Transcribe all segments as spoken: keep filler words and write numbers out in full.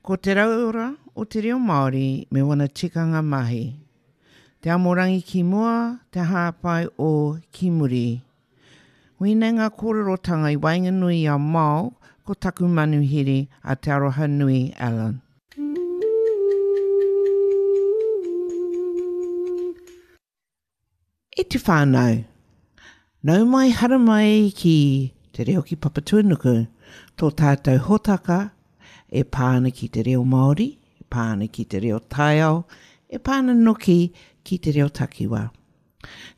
Ko te rauora o te reo Māori me wana tikanga mahi. Te amorangi ki mua, te hāpai o ki muri. Wēnei ngā kōrerotanga i waenganui i a Mao ko taku manuhiri a Te Arohanui Allen. E te whānau, nau mai haramai ki Te Reo ki Papatuanuku, tō tātou hōtaka e pā ana ki te reo Māori, e pā ana ki te reo taiao, e pā ana noki ki te reo takiwā.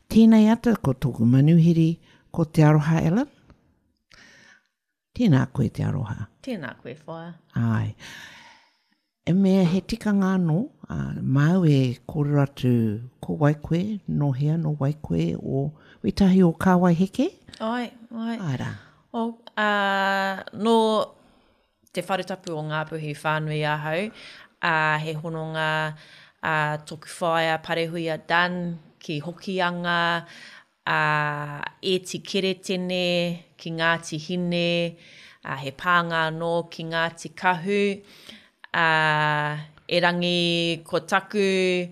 Tēnei ata ko tōku manuhiri, ko Te Aroha Allen. Tēnā koe Te Aroha. Tēnā koe, whaea. Ai. E mea he tikanga anō, uh, māu e kōrero atu ko wai koe, nō hea, nō wai koe, o wetahi o Kāwai Heke? Ai, ai. Ai rā. O, uh, nō te wharetapu o Ngāpuhi whānui ahau, uh, he hononga uh, toku whaea Parehuia Dunn ki Hokianga, uh, Eti Keretene ki Ngāti Hine, uh, he pānga anō ki Ngāti Kahu, uh, erangi ko taku,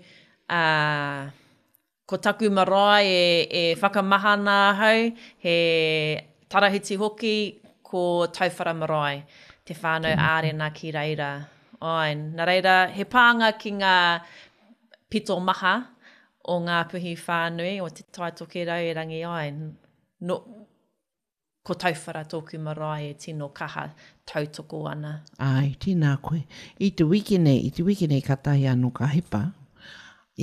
uh, ko taku marae e, e whakamahana ahau, he tarahiti hoki ko Tauwhara Marae, te whānau ārena ki reira. Ai, nā reira, he pānga ki ngā pito maha o Ngāpuhi whānui, o Te Tai Tokerau erangi ai. No, ko Tauwhara tōku marae e tino kaha tautoko ana. Ai, tēnā koe. I te wiki nei, i te wiki nei ka tahi anō ka hipa,